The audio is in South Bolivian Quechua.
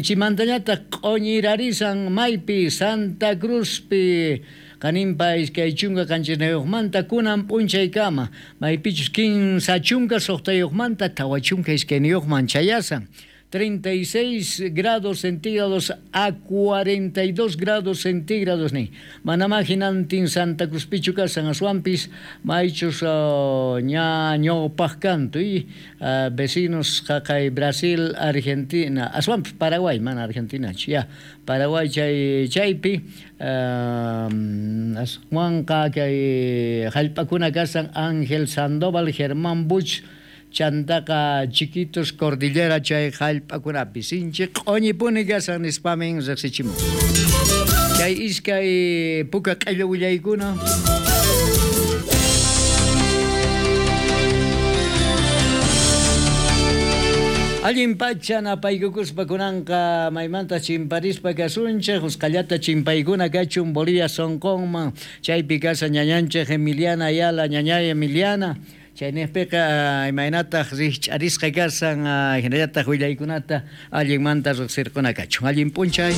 Chimantañataq q'oñirarisan maypi Santa Cruzpi qaninpa 27manta kunan p'unchaykama maypichus 36manta 42man chayasan 36 grados centígrados a 42 grados centígrados nin. Manamá hinantin Santa Cruzpichu kasan aswanpis maychus ña ñawpaq kantu y vecinos qaqay Brasil, Argentina, aswanpis Paraguay, mana Argentinachu, ya, Paraguay chay chaypi aswanqa kay hallp'akuna kasan Ángel Sandoval, Germán Buch, chantaqa Chiquitos Cordillera chay hallp'akunapi sinchi q'uñipuni kasan nispamin riqsichimun. Chay iskay puka q'illu willaykuna. Allin pacha napaykukuspa kunanqa maymanta chimparispa kasunchej usqallata chimpaykuna kachun Bolivia sonqonman chaypi kasa ñañanchej Emiliana Ayala ñañay Emiliana chaynejpiqa imaynataq rijch'arisqa kasan hinallataq willaykunata allinmanta riqsirquna kachun allin p'unchay.